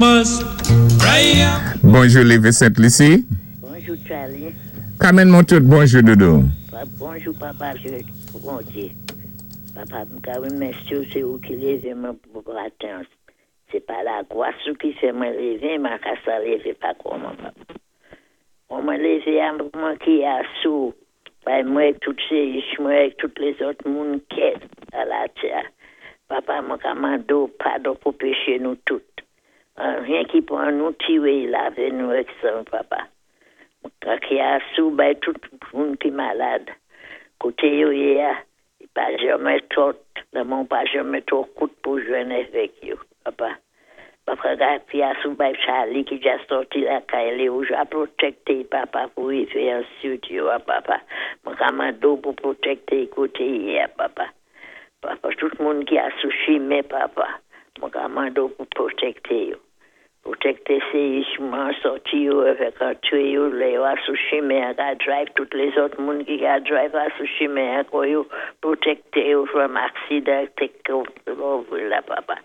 Must pray. Bonjou, Lévé Sent Lisi. Bonjou, Charlie. Carmen Montout, bonjou, doudou. Bonjou, papa, Bondyé. Papa, m ka wimèsyé ou, sé ou ki lévé mwen pou maten. Sé pa lagwas ou ki fè mwen lévé, mwen ka sa lévé pa kòman, papa. Kon mwen lévé a mwen ki asou, bay mwen tout sé mwen tout lézòt moun kè a latè. Papa, mwen ka mandé ou padon pou péché nou tout. Anyen ki pran nou tiwé lavé nou ak san, papa. Mwen ka ki asou bay tout moun ki malad. Koté yo yé a, pa janmè twò, lanmò pa janmè twò kout pou jwenn avèk yo, papa. Papa, ki asou bay Charlie ki dja sòti lakay li, ou ja pwotékté, papa, pou rivé an studio, papa. Mwen ka mandé ou pou pwotékté koté i yé, papa. Papa, tout moun ki asou chimen, papa. Mwen ka mandé ou pou pwotékté yo. Pwotékté sé mwen sòti yo avèk antré yo, lè yo asou chimen, ka drive tout lézòt moun ki ka drive asou chimen, kon yo pwotékté yo from aksidan, take over la, papa.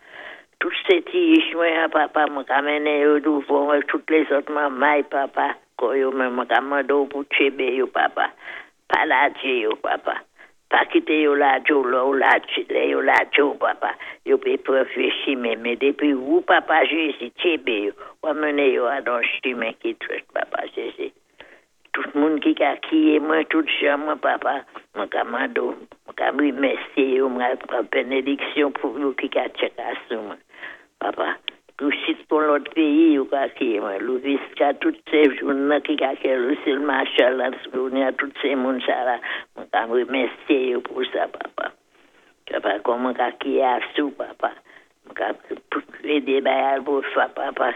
Tout sé ti mwen, papa, mwen ka mennen yo douvan, tout lézòt manmay, papa, kon yo menm, mwen ka mandé ou pou tchébé yo, papa. Pa lajé yo, papa. Pa kité yo lajé ou lè ou lajé, lè yo lajé ou, papa. Yo pé pran vyé chimen, men dépi ou, papa Jézi, tchébé yo, ou mennen yo a don chimen ki dwèt, papa Jézi. Tout moun ki ka kiyé mwen, tout jan mwen, papa, mwen ka mandé ou, mwen ka wimèsyé yo, mwen pran bénédiksyon pou yo ki ka tchèk asou mwen. Papa, pou sit pou lòt péyi yo ka kiyé mwen, Louviska, tout sé joun nan ki ka kè Lucille Marshall, la, tout sé moun sa la, mwen ka wimèsyé yo pou sa, papa. Papa, kon mwen ka kiyé asou, papa. Mwen ka édé bay al pou fa, papa,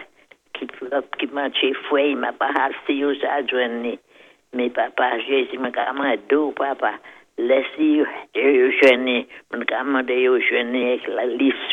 ki manché fwèy, ma pa hasi yo sa jwenn ni. Men papa Jézi, mwen ka mandé ou, papa, lèsi yo jwenn ni, mwen ka mandé yo jwenn ni ak la li sou.